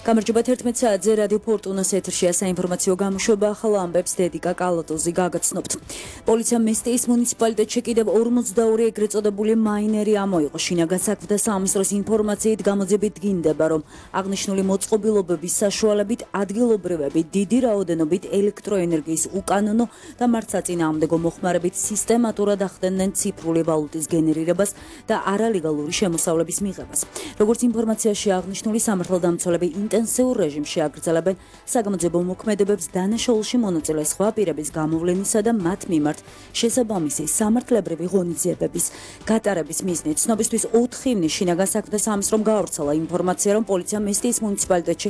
გამარჯობა 11 საათზე რადიო ფორტუნას ეთერშია საინფორმაციო გამოშვება ახალ ამბებს დედიკა კალატოზი გაგაცნობთ. პოლიციამ მესტიის მუნიციპალიტეტში კიდევ 42 ეგრეთ წოდებული მაინერი ამოიღო. შინაგან საქმეთა სამინისტროს ინფორმაციით გამოძიებით დგინდება, რომ აღნიშნული მოწყობილობების საშუალებით ადგილობრივები დიდი რაოდენობით ელექტროენერგიის უკანონო და მართლსაწინააღმდეგო მოხმარებით სისტემატურად ახდენდნენ ციფრული ვალუტის გენერირებას და არალეგალური შემოსავლების მიღებას. როგორც ინფორმაციაში აღნიშნული სამართალდამცველები ინტენსიურ რეჟიმში აგრძელებენ საგამოძიებო მოქმედებებს დანაშაულში მონაწილე სხვა პირების გამოვლენისა და მათ მიმართ შესაბამისი სამართლებრივი ღონისძიებების გატარების მიზნით. ცნობისთვის 4 ივნის შინაგან საქმეთა სამინისტრომ გაავრცელა ინფორმაცია, რომ პოლიციამ მესტიის მუნიციპალიტეტში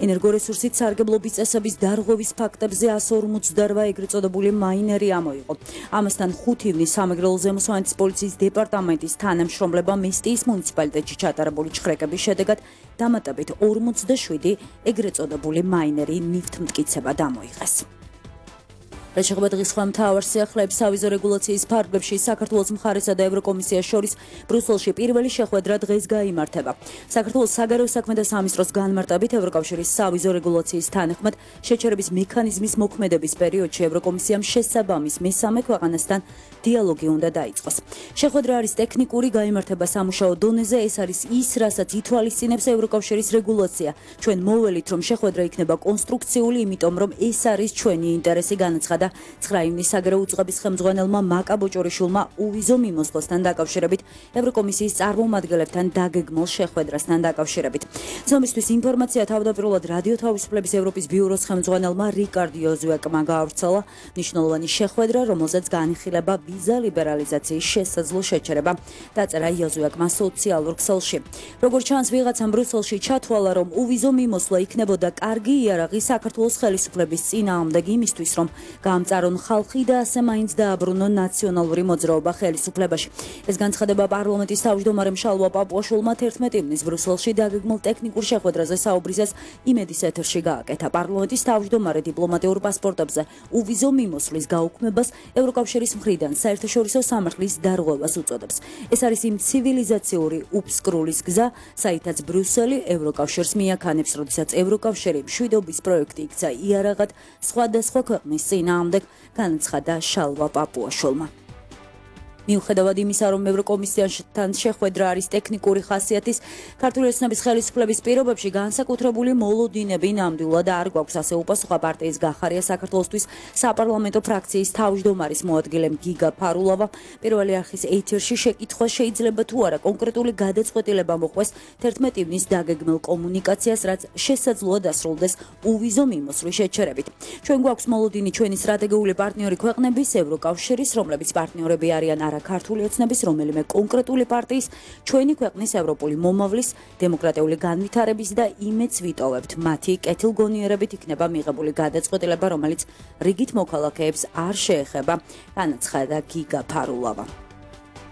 ენერგორესურსით სარგებლობის წესების დარღვევის ფაქტებზე 158 ეგრეთ წოდებული მაინერი ამოიღო. ამასთან 5 ივნის სამეგრელო ზემოსვანეთის პოლიციის დეპარტამენტის თანამშრომლებმა მესტიის მუნიციპალიტეტში ჩატარებული ჩხრეკების შედეგად დამატებით 47 ეგრეთ წოდებული მაინერი ნივთმტკიცება დამოიღეს. რაც შეეხება დღის სხვა მთავარ სიახლეებს, სავიზო რეგულაციის ფარგლებში საქართველოს მხარესა და ევროკომისიას შორის ბრიუსელში პირველი შეხვედრა დღეს გაიმართება. საქართველოს საგარეო საქმეთა სამინისტროს განმარტებით ევროკავშირის სავიზო რეგულაციის თანახმად შეჩერების მექანიზმის მოქმედების პერიოდში ევროკომისიამ შესაბამის მესამე ქვეყანასთან დიალოგი უნდა დაიწყოს. შეხვედრა არის ტექნიკური, გაიმართება სამუშაო დონეზე, ეს არის ის, რასაც ითვალისწინებს ევროკავშირის რეგულაცია. ჩვენ მოველით, რომ შეხვედრა იქნება კონსტრუქციული, იმიტომ რომ ეს არის ჩვენი ინტერესი, განაცხადა 9 ივნის საგარეო უწყების ხელმძღვანელმა მაკა ბოჭორიშვილმა უვიზო მიმოსვლასთან დაკავშირებით ევროკომისიის წარმომადგენლებთან დაგეგმილ შეხვედრასთან დაკავშირებით. ცნობისთვის ინფორმაცია თავდაპირველად რადიო თავისუფლების ევროპის ბიუროს ხელმძღვანელმა რიკარდ იოზუაკმა გაავრცელა. მნიშვნელოვანი შეხვედრა, რომელზეც განიხილება ვიზა ლიბერალიზაციის შესაძლო შეჩერება, დაწერა იოზუაკმა სოციალურ ქსელში. როგორც ჩანს, ვიღაცამ ბრიუსელში ჩათვალა, რომ უვიზო მიმოსვლა იქნებოდა კარგი იარაღი საქართველოს ხელისუფლების წინააღმდეგ იმისთვის, რომ გამწარონ ხალხი და ასე მაინც დააბრუნონ ნაციონალური მოძრაობა ხელისუფლებაში. ეს განცხადება პარლამენტის თავმჯდომარემ შალვა პაპუაშვილმა 11 ივნის ბრიუსელში დაგეგმილ ტექნიკურ შეხვედრაზე საუბრისას იმედის ეთერში გააკეთა. პარლამენტის თავმჯდომარე დიპლომატიურ პასპორტებზე უვიზო მიმოსვლის გაუქმებას ევროკავშირის მხრიდან საერთაშორისო სამართლის დარღვევას უწოდებს. ეს არის იმ ცივილიზაციური უფსკრულის გზა, საითაც ბრიუსელი ევროკავშირს მიაქანებს, როდესაც ევროკავშირი მშვიდობის პროექტი იქცა იარაღად სხვადასხვა ქვეყნის წინააღმდეგ, განაცხადა შალვა პაპუაშვილმა. მიუხედავად იმისა, რომ ევროკომისიასთან შეხვედრა არის ტექნიკური ხასიათის, ქართული ოცნების ხელისუფლების პირობებში განსაკუთრებული მოლოდინები ნამდვილად არ გვაქვს, ასე უპასუხა პარტიის გახარია საქართველოსთვის საპარლამენტო ფრაქციის თავმჯდომარის მოადგილე გიგა ფარულავა. პირველი არხის ეთერში შეკითხვა შეიძლება თუ არა კონკრეტული გადაწყვეტილება მოყვეს 11 ივნის დაგეგმილ კომუნიკაციას, რაც შესაძლოა დასრულდეს უვიზო მიმოსვლის შეჩერებით. ჩვენ გვაქვს მოლოდინი ჩვენი სტრატეგიული პარტნიორი ქვეყნების, ევროკავშირის, რომლებიც პარტნიორები არიან არა ქართული ოცნების, რომელიმე კონკრეტული პარტიის, ჩვენი ქვეყნის ევროპული მომავლის, დემოკრატიული განვითარების და იმედს ვიტოვებთ. მათი კეთილგონიერებით იქნება მიღებული გადაწყვეტილება, რომელიც რიგით მოქალაქეებს არ შეეხება, განაცხადა გიგა ფარულავა.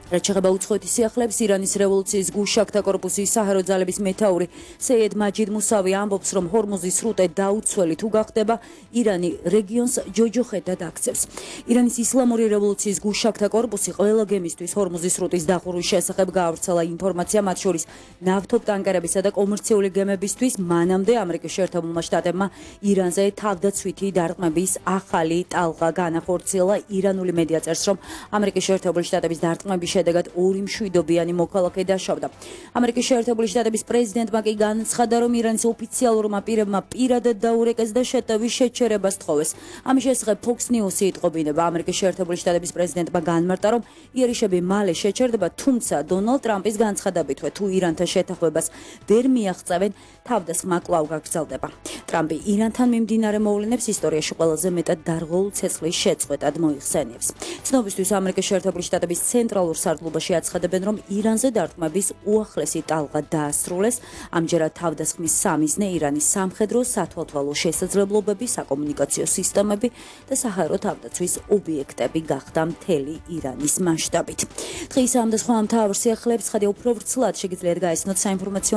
რაც შეეხება უცხოეთის სიახლეებს, ირანის რევოლუციის გუშაქთა კორპუსის საჰაერო ძალების მეთაური სეიედ მაჯიდ მუსავი ამბობს, რომ ჰორმუზის სრუტე დაუცველი თუ გახდება, ირანი რეგიონს ჯოჯოხეთად აქცევს. ირანის ისლამური რევოლუციის გუშაქთა კორპუსი ყველა გემისთვის ჰორმუზის სრუტის დახურვის შესახებ გაავრცელა ინფორმაცია, მათ შორის ნავთობტანკერებისა და კომერციული გემებისთვის. მანამდე ამერიკის შეერთებულმა შტატებმა ირანზე თავდაცვითი დარტყმების ახალი ტალღა განახორციელა. ირანული მედია წერს, რომ ამერიკის შეერთებული შტატების დარტყმების შედეგად 2 მშვიდობიანი მოქალაქე დაშავდა. ამერიკის შეერთებული შტატების პრეზიდენტმა კი განაცხადა, რომ ირანის ოფიციალურმა პირებმა პირადად დაურეკეს და შეტევის შეჩერებას თხოვეს. ამის შესახებ Fox News-ი იტყობინება. ამერიკის შეერთებული შტატების პრეზიდენტმა განმარტა, რომ იერიშები მალე შეჩერდება, თუმცა დონალდ ტრამპის განცხადებითვე, თუ ირანთან შეთანხმებას ვერ მიაღწევენ, თავდასხმა კვლავ გაგრძელდება. ტრამპი ირანთან მიმდინარე მოვლენებს ისტორიაში ყველაზე მეტად დარღვეულ ცეცხლის შეწყვეტად მოიხსენიებს. ცნობისთვის ამერიკის შეერთებული შტატების ცენტრალურ სარდლობაში აცხადებენ, რომ ირანზე დარტყმების უახლესი ტალღა დაასრულეს. ამჯერად თავდასხმის სამიზნე ირანის სამხედრო, სათვალთვალო შესაძლებლობები, საკომუნიკაციო სისტემები და საჰაერო თავდაცვის ობიექტები გახდა მთელი ირანის მასშტაბით. დღის ამ და სხვა მთავარ სიახლეებს ხადია უფრო ვრცლად შეგიძლიათ გაიცნოთ საინფორმაციო